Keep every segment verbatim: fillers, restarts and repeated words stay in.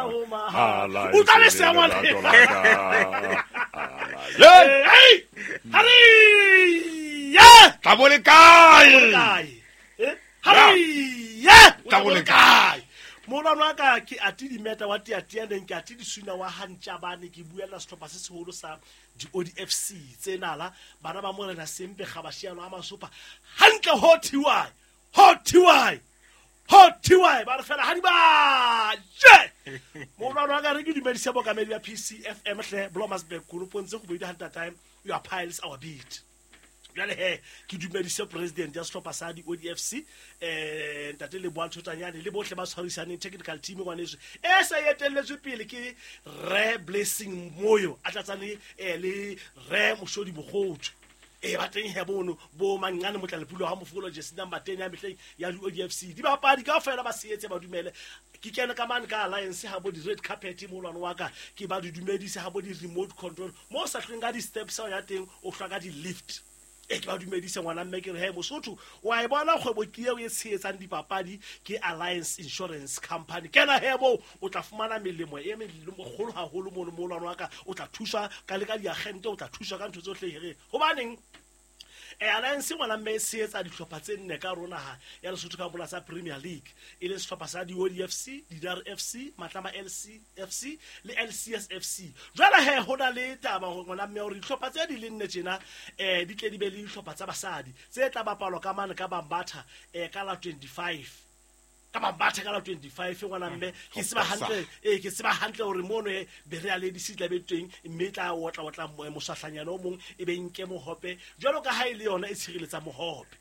ho mahala. O tla le se ngwana. Hey! Hari! Yeah! Tla bo le kae? Eh? Hari! Yeah! Tla bo le kae? Molwana wa ka ke ati dimeta wa tiatianeng ke ati disuna wa hantjabane ke buella sehlopha se seholo sa di O D F C tsenala bana ba morena Sempe Gabashiano a masopa hantle ho thiwa ho thiwa ho thiwa ba re fela ha di ba je molwana wa ka re ke dumedise bokamedi ya P C F M hle Blomersburg Kolopontse go boida hanta time your piles our beat. Jwale he ke dumedise president ya sehlopha sa di O D F C eh ntate Leboa Thotanyane le bohle ba tshwarisaneng technical team ngwaneso e sa etelletswe pele ke Re Blessing Moyo a tlatsane le Re Moshodi Mogotso e ba teng he bono bo mangane motlalepula ha mofolo jersey number ten ya mehleng ya di O D F C di bapadi kaofela ba setse ba dumele ke kene ka mane ka alliance ha bo di red carpet molwana wa ka ke ba di dumedise ha bo di remote control mo sa hlweng ka di steps ya teng o hlwa ka di lift e ke ba dumedise ngwana mme ke re he Mosotho wa e bona kgwebo ke eo e tshehetsang dipapadi ke Alliance Insurance Company kena he bo o tla fumana melemo e megolo haholo mono molwana wa ka o tla thuswa ka le ka diagente o tla thuswa ka ntho tsohle here hobaneng e Alliance ngwana mme e tshehetsa dihlopha tse nne ka rona ha ya Lesotho ka bola sa Premier League e le sehlopha sa di O D F C, Didar F C, Matlama L C F C le L C S F C. Jwale he ho na le taba ngwana mme hore dihlopha tse di le nne tjena eh di tle di be le dihlopha tsa basadi tse tla bapalwa ka mane ka Bambatha eh ka la twenty-five ka Bambatha ka la twenty-five ngwana mme ke tseba hantle eh ke tseba hantle hore mono e Berea Ladies tla be teng mme tla otla otla mosahlanyana o mong e be nke mohope jwalo ka ha ile yona e tshireletsa mohope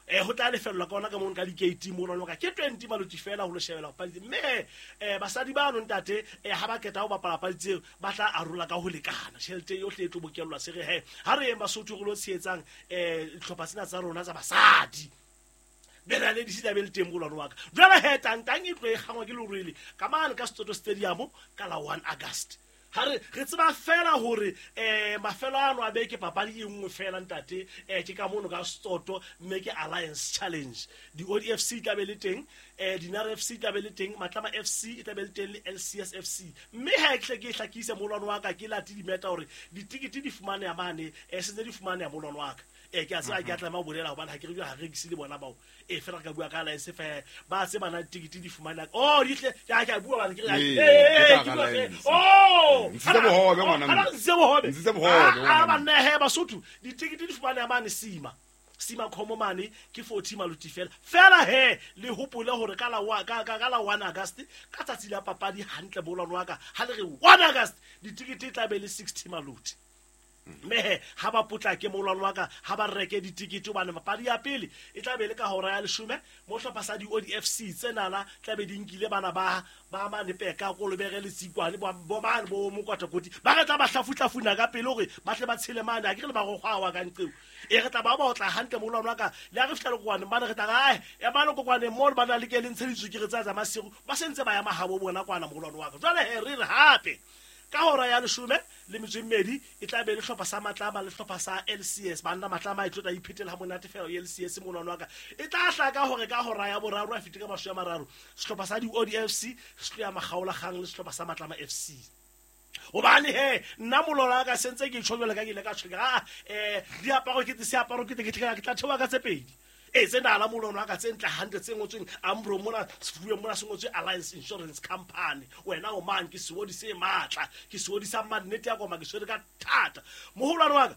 eh ho tla lefellwa ka ona ka mono ka di-gate mono ka ke twenty maloti fela ho lo shebela papadi mme eh basadi ba no ntate eh ha ba keta ho bapala papadi tseo ba tla arola ka ho lekana tjhelete yohle e tlo bokellwa se re he ha re yeng Basotho re lo tshehetsang eh dihlopha tsena tsa rona tsa basadi Berea Ladies tla be le teng molwana wa ka jwale he tantang e tlo e kgangwa ke lerwele ka mane ka Soto Stadium ka la one August ha re re tseba fela hore eh mafelo ano a beke papadi e nngwe fela ntate eh ke ka mono ka Soto mme ke Alliance Challenge di O D F C tla be le teng eh Dinare F C tla be le teng Matlama F C e tla be le teng le L C S F C mme ha ke hle ke hlakise molwana wa ka ke lati dimeta hore ditikete di fumaneha mane eh sentse di fumaneha molwana wa ka e ke a tseba ke a tlameha ho bolela hobane ha ke re ha re rekise le bona bao e fela re ka bua ka Alliance fa ba tseba na ditikete di fumana oh di hle ke a bua bana ke re eh ke oh ntse bohobe ngwana mme ntse bohobe ntse bohobe ngwana ba nne he Basotho ditikete di fumaneha mane sima sima khomo mane ke forty maluti fela fela he le hopole hore ka la ka ka la one August ka tsatsi la papadi hantle bolwana wa ka ha le re one August ditikete tla be le sixty maluti mme ha ba potlake molwana wa ka ha ba reke ditikete hobane papadi ya pele e tla be le ka hora ya leshome mo hlopha sa di O D F C tsenala tla be di nkile bana ba ba mane peka kolobere le tsikwane bo mane bo mokwatakoti ba re tla ba hlafuhlafuna ka pele hore ba tle ba tshele mane ha ke re le marokgo wa ka nqeo e re tla ba ba otla hantle molwana wa ka le ha re fihla le kokwane mane re tla ga e mane kokwane mo ba na le ke le ntsheditswe ke re tsa tsa masigo ba sentse ba ya mahabo bona kwana molwana wa ka jwale he re re hape ka hora ya leshome le metso e mmedi e tla be le hlopha sa Matlama le hlopha sa L C S banna Matlama e tlo tla iphetela ha monate fela L C S molwana wa ka e tla hlaka hore ka hora ya boraro a fite ka mashome a mararo sehlopha sa di O D F C se tlo ya makgaolakgang le sehlopha sa Matlama F C hobane he nna molwana wa ka sentse ke tjho jwale ka ke ile ka tjho ah eh diaparo ke seaparo ke ke tla theoha ka tse pedi e tsena la molwana wa ka tse ntle hantle tse ngotsweng Ambro mona sefubeng mona se ngotswe Alliance Insurance Company wena o mang ke seodi se matla ke seodi sa mannete ya koma ke swere ka thata moholwane wa ka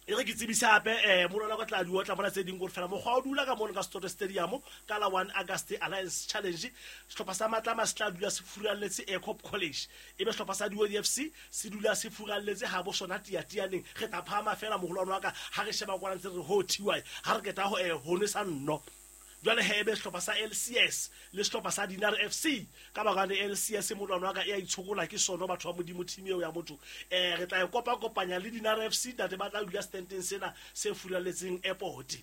e re ke tsebise hape eh molwana wa ka tla di otla mona tse ding gore fela mokgwa o dula ka mono ka Soto Stadium ka la one August Alliance Challenge sehlopha sa Matlama se tla dula se furalletse Aircop College e be sehlopha sa di O D F C se dula se furalletse ha bo sona tiatianeng re tla phahama fela moholwane wa ka ha re sheba kwana ntse re ho thiwa ha re keta ho eh ho nwesa nno jwale he be sehlopha sa L C S le sehlopha sa Dinar F C ka baka le L C S molwana wa ka e a itshokola ke sono batho ba modimo team eo ya motho eh re tla e kopa kopanya le Dinar F C ntate ba tla dula standeng sena se furaletseng airport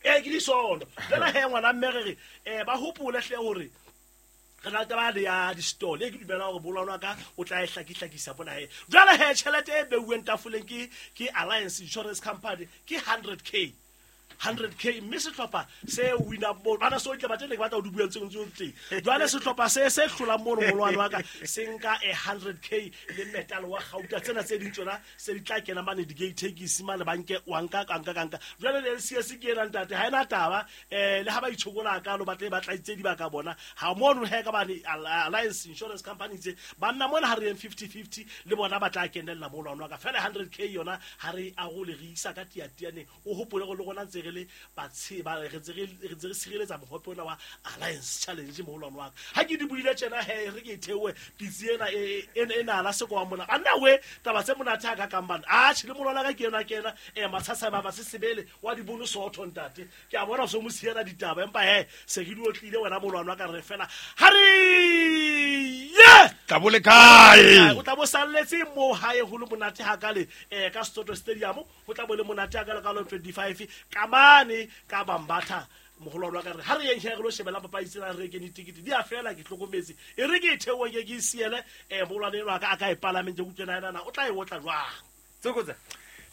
e ke di sono jwale he ngwana mme re re eh ba hopole hle hore re na le taba le ya di-stall e ke dumela hore bolwana ka o tla e hlakihlakisa bona he jwale he tjhelete e beuweng tafoleng ke ke Alliance Insurance Company ke hundred K hundred k mme sehlopha se wina mo bana so itle batle le batla o di buang tseng tseng teng jwale sehlopha se se hlolang mono molwane wa ka se nka a hundred k le metal wa gauta tsena tse ding tsona se di tla kena mane di gate taxi mane banke wa nka ka nka nka jwale le L C S ke ena ntate ha ena taba eh le ha ba itshokola ka lo batle ba tla itse di ba ka bona ha mono he ka bane Alliance Insurance Company tse banna mona ha re eng fifty fifty le bona ba tla kenella molwane wa ka fela hundred k yona ha re a go le re isa ka tiatiane o hopole go le gona ntse re le ba tseba re ntse re ntse re sireletsa mohope ona wa Alliance Challenge molwane wa ka ha ke di buile tjena he re ke thewe pitsi ena e e na la seko wa mona anna we taba tse monate ha ka kambana a tjhe le molwana ka ke yona ke ena e matshasa ba ba se sebele wa di bono sotho ntate ke a bona so mo siela ditaba empa he se ke di otlile wena molwana wa ka re fela ha re ye tla bo le kae o tla bo salletse mo hae ho le monate ha ka le eh ka Soto Stadium ho tla bo le monate ha ka le ka lo twenty-five ka mane ka Bambatha mogolwane wa ka re ha re yeng re lo shebela papadi tsena re kene ticket di a fela ke hlokometse e re ke theowe ke ke siele eh mogolwane wa ka a ka e palamente ke utlwena ena o tla e otla jwang Tsokotsa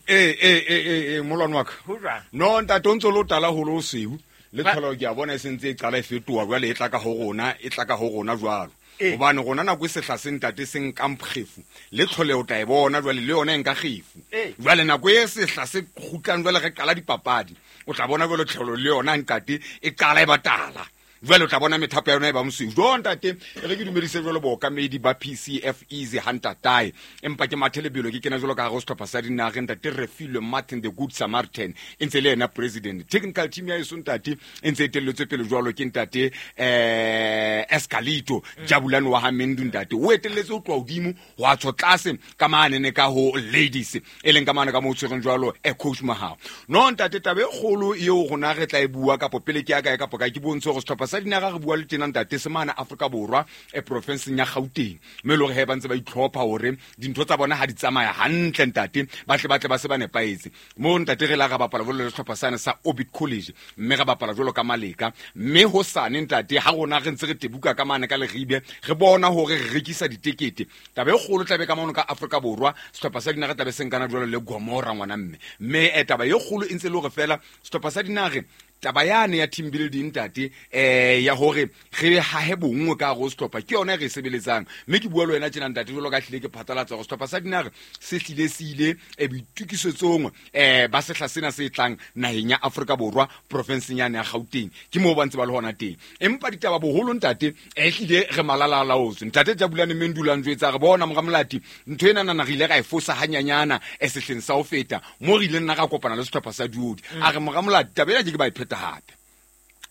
eh eh eh eh molwane wa ka ho jwang no ntate o ntse lo tala holo o seu le tlholo ke a bona e sentse e qala e fetoha jwale e tla ka ho rona e tla ka ho rona jwalo hobane rona nako e sehla se ntate se nkang kgefu le tlhole o tla e bona jwale le yona e nka kgefu jwale nako e sehla se kgutlang jwale re qala dipapadi o tla bona jwale tlholo le yona ntate e qala e batala jwale o tla bona methapo ya yona e ba mosweu jo ntate re ke dumedise jwale bookamedi ba P C F Easy Hunter Tai empa ke mathe lebelo ke kena jwalo ka hare ho sehlopha sa dinageng ntate Refilwe Martin the Good Samaritan e ntse le yena president technical team ya eso ntate e ntse e telletswe pele jwalo ke ntate eh Escalito Jabulani wa Hamendu ntate o etelletse ho tloha hodimo ho a tsho tlase ka mane ka ho ladies e leng ka mane ka mo tshwereng jwalo e coach Mahao no ntate taba e kgolo eo rona re tla e bua kapo pele ke ya kae kapo kae ke bontshe hore sehlopha sa dinaga re bua le tena ntate se mane Afrika Borwa e profinseng ya Gauteng mme le hore he ba ntse ba itlhopha hore dintho tsa bona ha di tsamaya hantle ntate ba tle ba tle ba se ba nepaetse mo ntate re la ga bapala jwalo le sehlopha sane sa Orbit College mme re bapala jwalo ka Maleka mme ho sane ntate ha rona re ntse re tebuka ka mane ka Leribe re bona hore re rekisa ditekete taba e kgolo tlabe ka mono ka Afrika Borwa sehlopha sa dinaga tlabe se nkana jwalo le Gomora ngwana mme mme e taba e kgolo e ntse le hore fela sehlopha sa dinaga taba yane ya team building ntate eh ya hore re hahe bongwe ka go sehlopha ke yona re sebeletsang mme ke bua le wena tjena ntate jwalo ka hlile ke phatlalatsa go sehlopha sa dinaga se hlile se ile e boitukisetsong eh ba sehla sena se tlang naheng ya Afrika Borwa profinseng yane ya Gauteng ke moo ba ntse ba le hona teng empa ditaba boholo ntate e hlile re malala laotswe ntate Jabulani Mendula njwetsa re bona moramolati ntho ena nana re ile ra e fosa hanyanyana e sehleng sa ho feta mo re ileng na ra kopana le sehlopha sa Duodi a re moramolati taba ena ke ba e pheta hape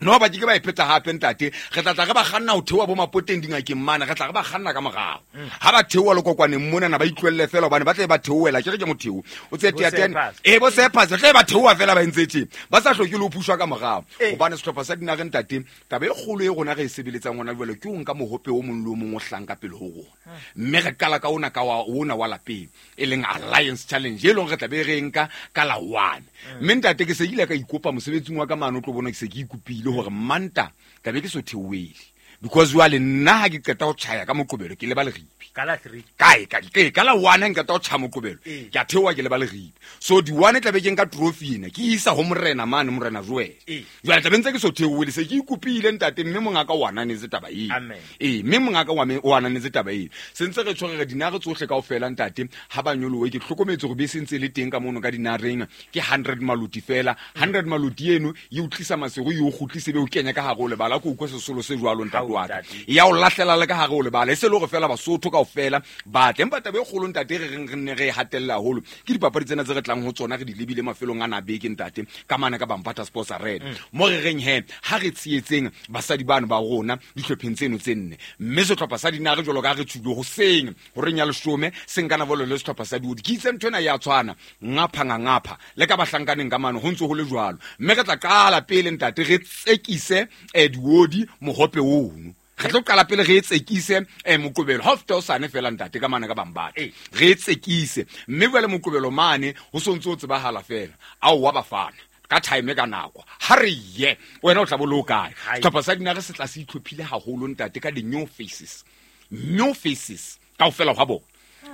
no ba ke ba e pheta hape ntate re tla tla re ba kganna ho theoha bo mapoteng dingakeng mane re tla re ba kganna ka morao ha ba theoha lokokwaneng mona na ba itlwelle fela hobane ba tle ba theohela ke re ke motheo o tse teatene e bo sephasa tle ba theoha fela ba entse tje ba sa hloke le ho pushwa ka morao hobane sehlopha sa dinaga ntate taba e kgolo e rona re e sebeletsang hona jwale ke ho nka mohope o mong le o mong o hlang ka pele ho rona mme re qala ka ona ka wa ona wa lapeng e leng Alliance Challenge e leng re tla be re nka ka la one mme ntate ke se ile ka ikopa mosebetsing wa ka mane o tlo bona ke se ke ikopile hore manta ka be ke so theoele because jwale nna ha ke qeta ho tjhaya ka moqobelo ke leba Leribe ka la three kae ka ke ka la one ha nka qeta ho tjhaya moqobelo ke a theoha ke leba Leribe so di one tla be ke nka trophy ena ke isa ho morena mane morena Joel jwale tla be ntse ke so theoele se ke ikopile ntate mme mongaka o ananetse taba eo ee mme mongaka wa me o ananetse taba eo se ntse re tshwere dinare tsohle kaofela ntate ha ba nyolowe ke hlokometse hore bese ntse le teng ka mono ka dinareng ke hundred maluti fela hundred maluti eno e utlisa masego e o kgutlise be o kenya ka hare o lebala ko utlwa sesolo se jwalo ntate wa ka ya o lahlela le ka hare o lebala e se le hore fela Basotho kaofela ba tle empa taba e kgolo ntate re reng re nne re e hatella haholo ke dipapadi tsena tse re tlang ho tsona re di lebile mafelong a na beke ntate ka mane ka Bambatha Sports Arena mo re reng he ha re tshehetseng basadi bano ba rona dihlopheng tseno tse nne mme sehlopha sa dinare jwalo ka re tshwile hoseng horeng ya leshome se nkana bolo le sehlopha sa diodi ke itse ntho ena ya tshwana ngapha ngapha le ka bahlankaneng ka mane ho ntse ho le jwalo mme re tla qala pele ntate re tsekise eh diodi mohope ono re tlo qala pele re tsekise eh moqobelo ha feta o sane fela ntate ka mane ka Bambatha re tsekise mme jwale moqobelo mane ho sontse o tsebahala fela ao wa bafana ka time ka nako ha re ye wena o tla bo lo kae sehlopha sa dinare se tla se itlhophile haholo ntate ka di new faces new faces kaofela hwa bona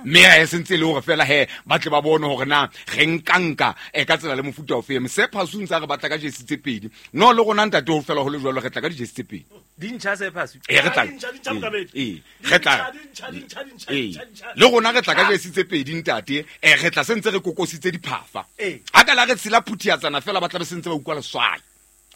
Mme ha e sentse le hore fela he ba tle ba bone hore na re nkanka e ka tsela le mofuta o feng. Se phasu ntse re batla ka jesi tse pedi. No le rona ntate ho fela ho le jwalo re tla ka dijesi tse pedi. Di ntjha se phasu. E re tla. E re tla. Le rona re tla ka jesi tse pedi ntate. E re tla sentse re kokositse diphafa. Ha ka la re tshela phuthiatsana fela ba tla be sentse ba utlwa leswai.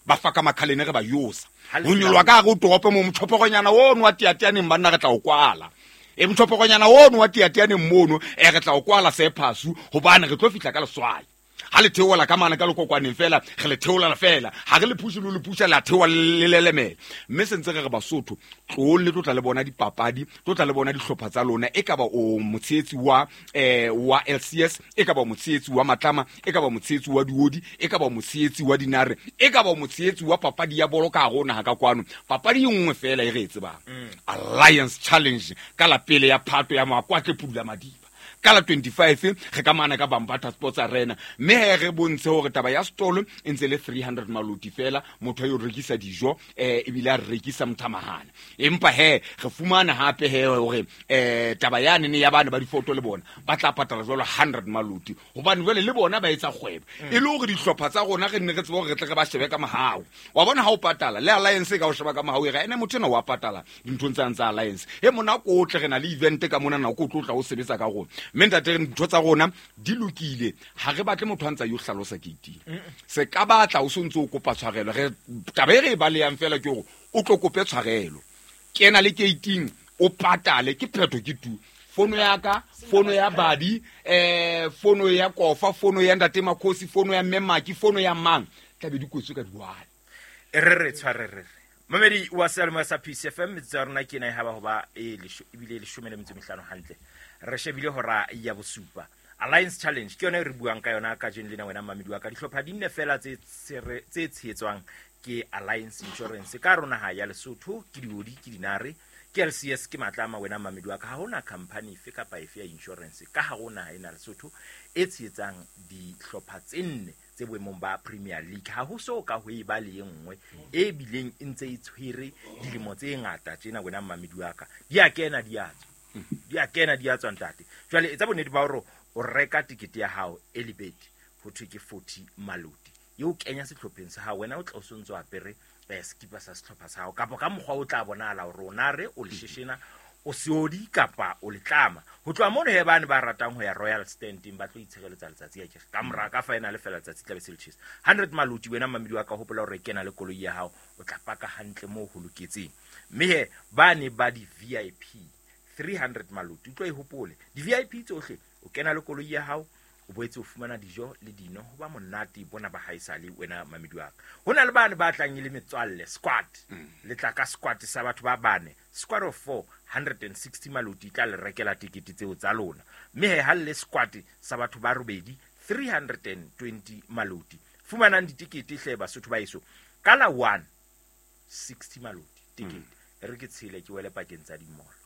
Ba fa ka makhalene re ba yosa. Ho nyolwa ka re o torope mo motshopogonyana o nwa tiatianeng banna re tla o kwala. E motshopogonyana o nwa tiatianeng mono e re tla o kwala se phasu hobane re tlo fihla ka leswai. Ha le theola ka mana ka lokokwaneng fela re le theola fela ha re le push le le pusha la theola le lelemela. Mme sentse re re Basotho tlo le tlotla le bona dipapadi tlotla le bona dihlopha tsa lona e ka ba o motshehetsi wa eh wa L C S e ka ba motshehetsi wa Matlama e ka ba motshehetsi wa Diodi e ka ba motshehetsi wa Dinare e ka ba motshehetsi wa papadi ya bolo ka rona ha ka kwano. Papadi e nngwe fela e re e tsebang Alliance Challenge ka la pele ya Phato ya Makwatle Pudula Madiba ka la twenty-five re ka mana ka Bambata Sports Arena. Mme he re bontshe hore taba ya stolo e ntse le three hundred maloti fela motho yo rekisa dijo eh ebile a rekisa mothamahana. Empa he re fumana hape he hore eh taba ya nene ya bana ba difoto le bona ba tla patala jwalo hundred maloti hobane jwale le bona ba etsa kgwebo e le hore dihlopha tsa rona re nne re tsebe hore re tle re ba shebe ka mahao. Wa bona ha o patala le Alliance e ka o sheba ka mahao e re ene motho ena wa patala dinthong tsa tsa Alliance e mona ko tle re na le event ka mona nako o tlo tla o sebetsa ka rona. Mme ntate ntho tsa rona di lokile ha re batle motho a ntsa yo hlalosa keiting. Se ka batla o sontse o kopa tshwarelo re taba e re e baleyang fela ke hore o tlo kope tshwarelo. Kena le keiting o patale ke phetho ke tu. Fono ya ka, fono ya Badi, eh fono ya Kofa, fono ya ntate Makhosi, fono ya Mmemaki, fono ya mang tla be di kwetswe ka diwale. Re re tshware re. Mamedi wa Selma sa P C F M tsa rona ke na e haba hoba e lesho ebile leshome le metso mehlano hantle. Re shebile hora ya bosupa. Alliance Challenge ke yona e re buang ka yona ka jeno lena wena mamedi wa ka. Dihlopha di nne fela tse tse tshehetswang ke Alliance Insurance ka rona ha ya Lesotho ke Diodi ke Dinare ke L C S ke Matlama wena mamedi wa ka. Ha hona company efe kapa efe ya insurance ka ha rona ha ena Lesotho e tshehetsang dihlopha tse nne tse boemong ba Premier League. Ha ho so ka ho e ba le nngwe e bileng e ntse e tshwere dilemo tse ngata tjena wena mamedi wa ka. Di a kena di a tswa. Di a kena di a tswa ntate. Jwale etsa bonnete ba hore o reka tikete ya hao early bird ho thwe ke forty maloti. Eo kenya sehlopheng sa hao wena o tla o sontso apere skipa sa sehlopha sa hao kapa ka mokgwa o tla bonahala hore o na re o lesheshena o seodi kapa o letlama. Ho tloha mono he bane ba ratang ho ya Royal Standing ba tlo itshireletsa letsatsi ya ke ka mora ka final fela letsatsi tla be se le tjhesa. hundred maloti wena mamedi wa ka hopola hore kena le koloi ya hao o tla paka hantle moo ho loketseng. Mme he bane ba di V I P three hundred maloti o tlo e hopole di V I P tsohle o kena le koloi ya hao o boetse o fumana dijo le dino ho ba monate bona ba haesale wena mamedi wa ka. Ho na le bane ba tlang le metswalle squad le tla ka squad sa batho ba bane squad of four hundred and sixty maloti tla le rekela tikete tseo tsa lona. Mme he ha le squad sa batho ba robedi three hundred and twenty maloti. Fumanang ditikete hle Basotho ba eso ka la one sixty maloti tikete e re ke tshele ke wele pakeng tsa dimolo.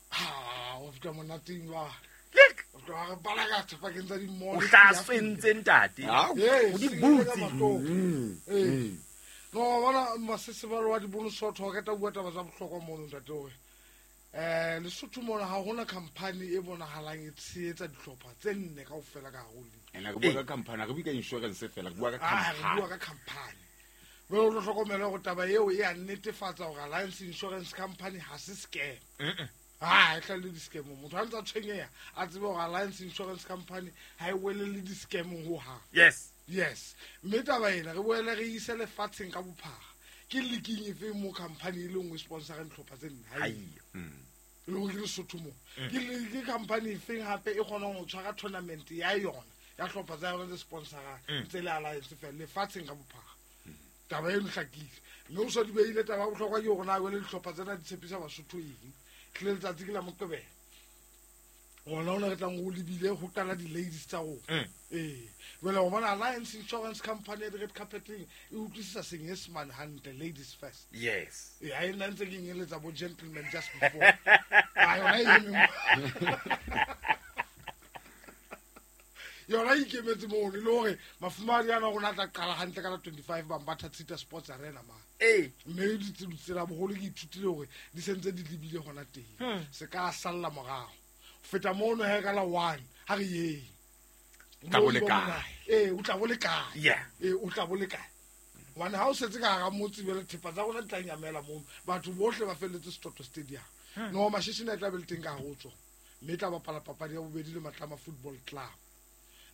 Ha o fika monateng wa Lek o tloha re balaka pakeng tsa dimolo. O tla swentse ntate. O di butse. Eh. No bona masesebalo wa dibonosotho ke tla bua taba tsa bohlokwa mono ntate hore eh Lesotho mona ha hona company e bonahalang e tshehetsa dihlopha tse nne kaofela ka hare ho league. Ena re bua ka company, re bua ka insurance fela, re bua ka company. Re bua ka company. Jwale o tlo hlokomela hore taba eo e a netefatsa hore Alliance Insurance Company ha se scam. Ah, e tla le di-scam. Motho ha ntse a tshwenyeha a tsebe hore Alliance Insurance Company ha e wele le di-scam hohang. Yes. Yes. Mme taba ena re boele re ise lefatsheng ka bophara. Ke leaking efe mo company e le nngwe sponsorang dihlopha tse nne? Ha eyo. Le hore ke Lesotho mo. Ke ke company efeng hape e kgonang ho tshwara tournament ya yona ya hlopha tsa yona tse sponsorang tse le Alliance fela lefatsheng ka bophara. Taba eno hlakile. Mme o so di beile taba ya bohlokwa ke hore na jwale dihlopha tsena di tshepisa Basotho eng. Tlile letsatsi ke la Moqebelo. Ona ona re tlang ho lebile ho qala di-ladies tsa rona. Eh. Jwale o bona Alliance Insurance Company ya red carpeting e utlwisisa senyesemane hantle, ladies first. Yes. Eh, ha e nna ntse ke nyeletsa bo gentlemen just before. Ah, yona e eme. Yona e ikemetse mono le hore mafumahadi ana rona a tla qala hantle ka la twenty-five Bambatha Tshita Sports Arena ma. Eh. Mme ditsela boholo ke ithutile hore di sentse di lebile hona teng. Se ka salla morao. Feta mono he ka la one ha re yeng. Tla bo le kae? Eh, o tla bo le kae? Yeah. Eh, o tla bo le kae? Hobane ha o setse ka hara motse jwale thepa tsa rona di tla nyamela mono. Batho bohle ba felletse Setoto Stadium. No, Mashishina e tla be le teng ka hare ho tsona. Mme e tla bapala papadi ya bobedi le Matlama Football Club.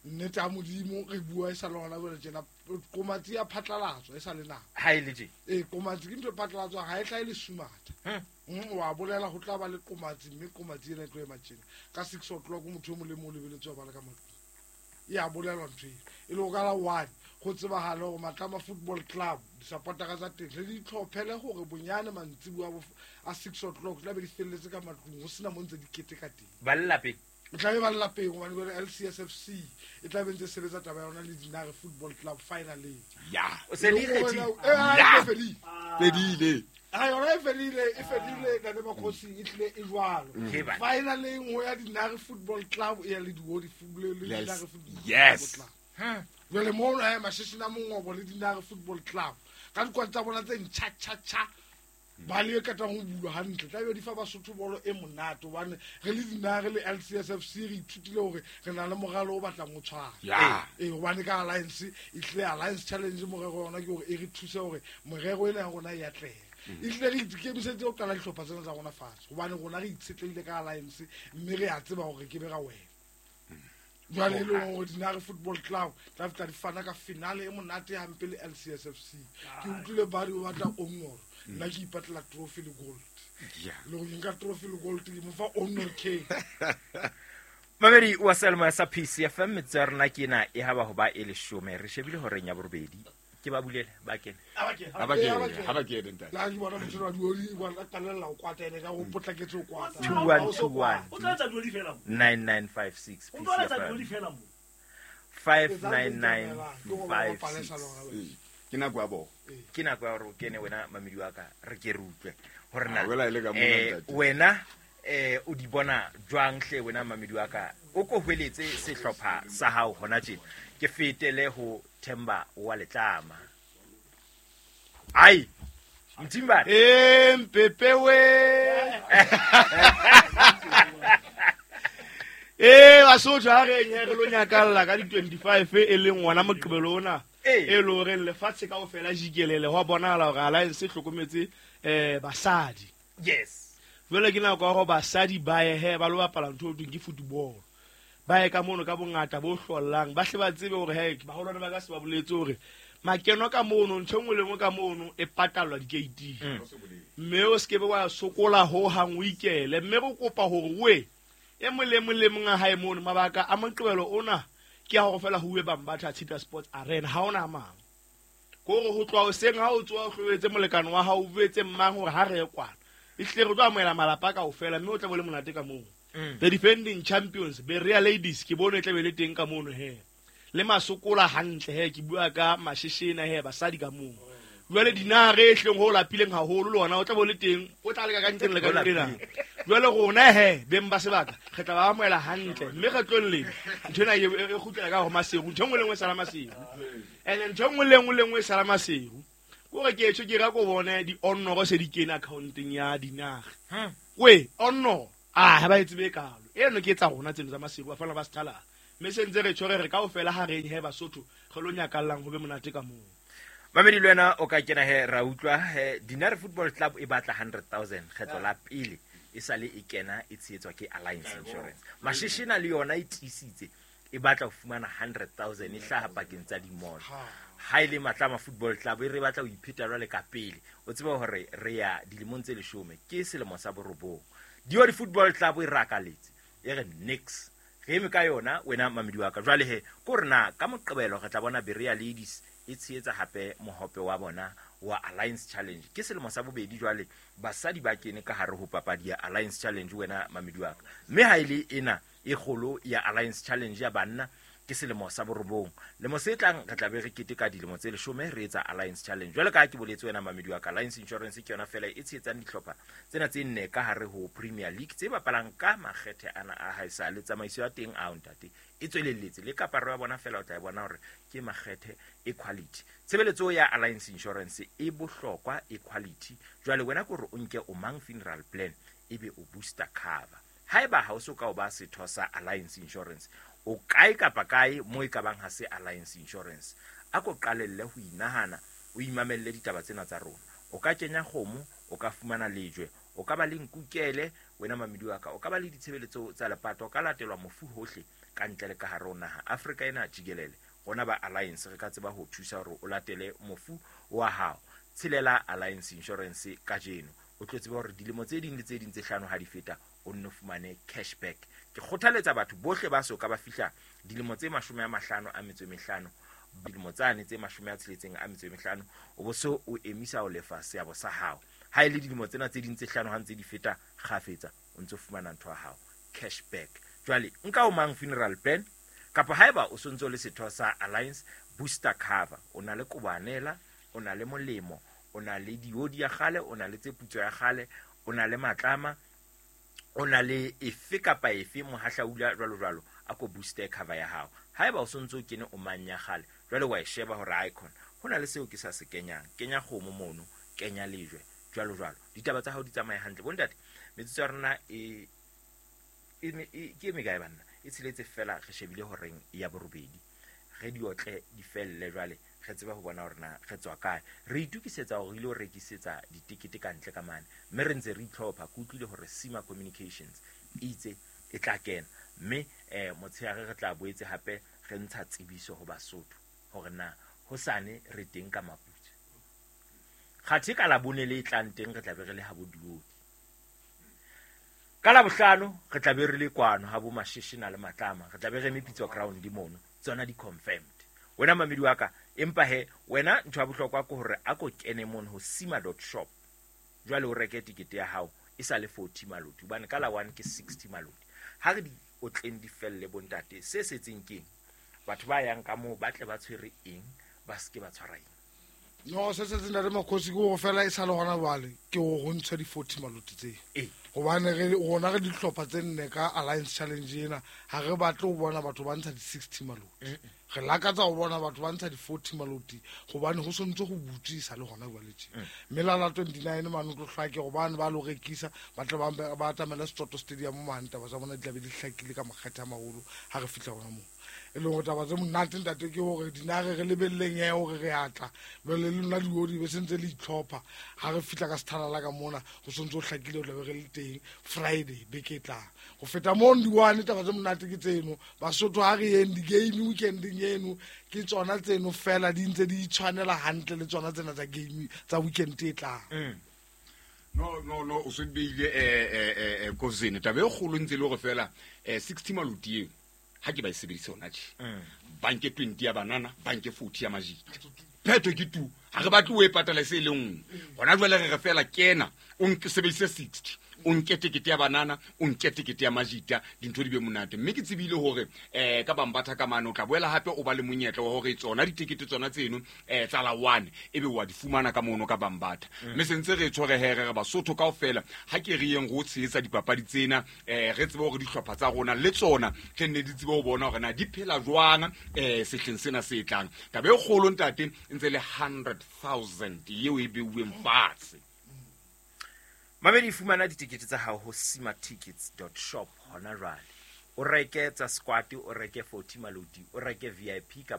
Nnete ya Modimo re bua e sa le hona jwale tjena, qomatsi ya phatlalatswa e sa le nako. Ha e le tje? Eh, qomatsi ke ntho e phatlalatswang, ha e hlahe le sumatha. Mm, wa bolela ho tla ba le qomatsi, mme qomatsi ena e tlo ema tjena. Ka six o'clock motho e mong le mong o lebeletse ho bala ka matlung. E a bolelwa ntho eno. E le ho ka la one, go tsebagale gore Matlama Football Club di-supportera tsa teng le di itlhophele gore bonyane mantsiboa a bo a six o'clock tla be di felletse ka matlung, ho sena mo ntse di keteka teng. Ba le lapeng? O tla be ba le lapeng hobane jwale L C S F C e tla be ntse sebetsa taba ya yona le Dinare Football Club finally. Ya. O se le ikgethile? Eh, ha, e fedile. Fedile. Ha yona e fedile, e fedile ntate Makgosi, e tlile e jwalo. Ke ba. Finally ho ya Dinare Football Club e ya le Diodi Football le Yes. Dinare Football Yes. Club. Jwale mono he Mashishina Mongobo le Dinare Football Club ka dikwadi tsa bona tse ntjha tjha tjha ba le ketang ho bulwa hantle, tla be di fa Basotho bolo e monate hobane re le Dinare le L C S F C re ithutile hore re na le moralo o batlang o tshwana. Ya. Eh, hobane ka Alliance e tlile Alliance Challenge morero wa yona ke hore e re thuse hore morero ena ya rona e atlehe. E tlile re ikemisetse ho qala dihlopha tsena tsa rona fatshe hobane rona re itshetlehile ka Alliance mme re a tseba hore ke be ra wena. Jwale e le hore Dinare Football Club tla fihla di fana ka finale e monate hampe le L C S F C. Ke utlwile ba re o batla honor, nna ke ipatlela trophy le gold. Yeah. Le hore nka trophy le gold ke mo fa honor K. Mamedi wa Selma sa P C F M metsotso ya rona ke ena e haba ho ba e leshome. Re shebile horeng ya borobedi. Ke ba bulele ba kene. Ha ba kene. Ha ba kene, ha ba kene ntate. La ke bona motho wa dioli wa qalella ho kwata ene ka ho potlaketse ho kwata. Two one two one. O tla etsa dioli fela mo. Nine nine five six. O tla etsa dioli fela mo. Five nine nine five six. Ke nako ya bona. Ke nako ya hore o kene wena mamedi wa ka re ke re utlwe hore na Ah, wela e le ka mona, eh, ntate. wena eh o di bona jwang hle wena mamedi wa ka o ko hweletse sehlopha sa hao hona tjena. Ke fetele ho Themba wa Letlama. Ai Mthimba. Eh Mpepe we. Eh Basotho ha re nye re lo nyakalla ka di twenty-five e leng ngwana Moqebelo ona. Eh. E lo re lefatshe kaofela jikelele ho bonahala hore Alliance e hlokometse eh basadi. Yes. Jwale ke nako ya hore basadi ba ye he ba lo bapala ntho e thweng ke football. Ba ye ka mono ka bongata bo hlollang, ba hle ba tsebe hore he baholwane ba ka se ba boletse hore makeno ka mono ntho e nngwe le nngwe ka mono e patallwa di-gate. Mm. Mme o se ke be wa sokola ho hang o ikele. Mme re kopa hore we e mong le mong le mong a hae mono mabaka a Moqebelo ona ke a hore fela ho uwe Bambatha Cheetah Sports Arena, ha ona a mang. Ke hore ho tloha hoseng ha o tsoha o hlobetse molekane wa hao, o buetse mang hore ha re ye kwana. Ehlile re tlo amohela malapa kaofela mme o tla bo le monate ka moo. Mm. The defending champions Berea Ladies ke bone e tla be le teng ka mono he. Le masokola hantle he, ke bua ka Mashishina he basadi ka moo. Jwale Dinare e hleng ho lapileng haholo le ona o tla bo le teng, o tla leka ka ntleng le ka ntleng. Jwale rona he beng ba sebaka re tla ba amohela hantle mme re tlo leng ntho ena e, e kgutlela ka ho Maseru, ntho e nngwe le nngwe e sala Maseru. And ntho e nngwe le nngwe le nngwe e sala Maseru. Kore ke tjho ke ra ko bone di honor se di kene accounteng ya Dinare. Hmm. We honor ah ha ba e tsebe kalo. Eno ke tsa rona tseno tsa Maseru ba fana ba sethala. Mme se ntse re tjho re re kaofela ha re he Basotho re lo nyakallang ho be monate ka moo. Mamedi le wena o ka kena he ra utlwa he Dinare Football Club e batla hundred thousand kgetlo la pele e sale e kena e tshehetswa ke Alliance Insurance. Mashishina le yona e tiisitse e batla ho fumana hundred thousand e hlaha pakeng tsa di-mall. Ha e le Matlama Football Club e re batla ho ipheta jwale ka pele. O tsebe hore re ya dilemong tse leshome ke selemo sa borobong. Diodi Football Club e rakaletse e re nix. Re eme ka yona wena mamedi wa ka. Jwale he ko re na ka Moqebelo re tla bona Berea Ladies e tshehetsa hape mohope wa bona wa Alliance Challenge. Ke selemo sa bobedi jwale basadi ba kene ka hare ho papadi ya Alliance Challenge wena mamedi wa ka. Mme ha e le ena e kgolo ya Alliance Challenge ya banna ke selemo sa borobong. Lemo se tlang re tla be re keteka dilemo tse leshome re etsa Alliance Challenge. Jwale ka ha ke boletse wena mamedi wa ka, Alliance Insurance ke yona fela e tshehetsang dihlopha tsena tse nne ka hare ho Premier League tse bapalang ka makgethe ana a haesale. Tsamaiso ya teng a ntate e tswelelletse le kaparo ya bona fela o tla e bona hore ke makgethe e quality. Tshebeletso ya Alliance Insurance e bohlokwa e quality. Jwale wena ke hore o nke o mang funeral plan ebe o booster cover. Haeba ha o so ka o ba setho sa Alliance Insurance, o kae kapa kae mo e ka bang ha se Alliance Insurance, a ko qalelle ho inahana, o imamelle ditaba tsena tsa rona. O ka kenya kgomo, o ka fumana lejwe, o ka ba le nkukele wena mamedi wa ka, o ka ba le ditshebeletso tsa lepato, o ka latelwa mofu hohle ka ntle le ka hare ho naha Afrika ena jikelele. Rona ba Alliance re ka tseba ho thusa hore o latele mofu wa hao. Tshelela Alliance Insurance kajeno, o tlo tseba hore dilemo tse ding le tse ding tse hlano ha di feta o nno fumane cashback. Ke kgothaletsa batho bohle ba so ka ba fihla dilemo tse mashome a mahlano a metso e mehlano, dilemo tsane tse mashome a tsheletseng a metso e mehlano, o bo so o emisa ho lefa seabo sa hao. Ha e le dilemo tsena tse ding tse hlano ha ntse di feta kgafetsa, o ntso fumana ntho ya hao cashback. Jwale nka o mang funeral plan, kapa haeba o sontso le setho sa Alliance booster cover, o na le kobanela, o na le molemo, o na le diodi ya kgale, o na le tse putso ya kgale, o na le matlama, o na le efe kapa efe mohahlaula jwalo jwalo, a ko booster cover ya hao. Haeba o sontso o kene o mang ya kgale, jwale wa e sheba hore icon ho na le seo ke sa se kenyang, kenya kgomo mono, kenya lejwe jwalo jwalo, ditaba tsa hao di tsamaye hantle. Bontate, metsotso ya rona e e ke mekae banna? E tsheletse fela, re shebile horeng ya borobedi, re diotle di felle jwale re tseba ho bona hore na re tswa kae. Re itukisetsa hore ile ho rekisetsa ditekete ka ntle ka mane, mme re ntse re itlhopha. Ke utlwile hore Sima Communications e itse e tla kena, mme eh motshehare re tla boetse hape re ntsha tsebiso ho Basotho hore na hosane re teng ka Maputswe. Kgathe ka Labone le e tlang teng re tla be re le ha bo Diodi. Ka Labohlano re tla be re le kwano ha bo Mashishina le Matlama, re tla be re eme Pitso Ground mono, tsona di confirmed. Wena mamedi wa ka, empa he wena ntho ya bohlokwa ke hore a ko kene mono ho sima dot shop, jwale o reke tikete ya hao e sa le forty maloti, hobane ka la one ke sixty maloti. Ha re di otleng di felle bontate, se setseng keng? Batho ba yang ka moo ba tle ba tshwere eng, ba seke ba tshwara eng? No, se setseng ntate Makgosi ke hore fela e sa le hona jwale ke hore ho ntshwe di-forty maloti tse. Ee. Hobane re rona re dihlopha tse nne ka Alliance Challenge ena, ha re batle ho bona batho ba ntsha di-sixty maloti. Re lakatsa ho bona batho ba ntsha di-forty maloti, hobane ho sontse ho butswe e sa le hona jwale tje. Mme la la twenty-nine mane o tlo hlake hobane ba lo rekisa, ba tle ba ba atamela Setotto Stadium mane, taba tsa bona di tla be di hlakile ka makgethe a maholo ha re fihla hona moo. E leng hore taba tse monate ntate ke hore dinare re lebelleng he hore re atla, jwale le lona diodi be sentse le itlhopha. Ha re fihla ka sethalala ka mona ho sontse ho hlakile ho tla be re le teng Friday beke e tlang. Ho feta mono di-one taba tse monate ke tseno. Basotho ha re yeng di-game weekendeng eno, ke tsona tseno fela di ntse di itshwanela hantle le tsona tsena tsa game tsa weekend e tlang. No no no, o se beile eh eh eh Kozene taba e kgolo ntse le hore fela eh sixty maloti eo ha ke ba e sebedise hona tje. Banke twenty ya banana, banke forty ya majita. Phetho ke tu, ha re batle o e patala se le nngwe. Hona jwale re re fela kena, o nke sebedise sixty, o nke tekete ya banana, o nke tekete ya majita, dintho di be monate. Mme ke tsebile hore eh ka Bambatha ka mane o tla boela hape o ba le monyetla wa hore tsona ditekete tsona tseno eh tsa la one ebe wa di fumana ka mono ka Bambatha. Mme sentse re tshwere here re Basotho kaofela, ha ke re yeng go tshehetsa dipapadi tsena, eh re tsebe hore dihlopha tsa rona le tsona re nne di tsebe ho bona hore na di phela jwang eh sehleng sena se tlang. Taba e kgolo ntate ntse le hundred thousand eo e beuweng fatshe. Mamedi, fumana ditekete tsa hao ho sima tickets dot shop hona jwale. O reke tsa squad, o reke forty maloti, o reke V I P.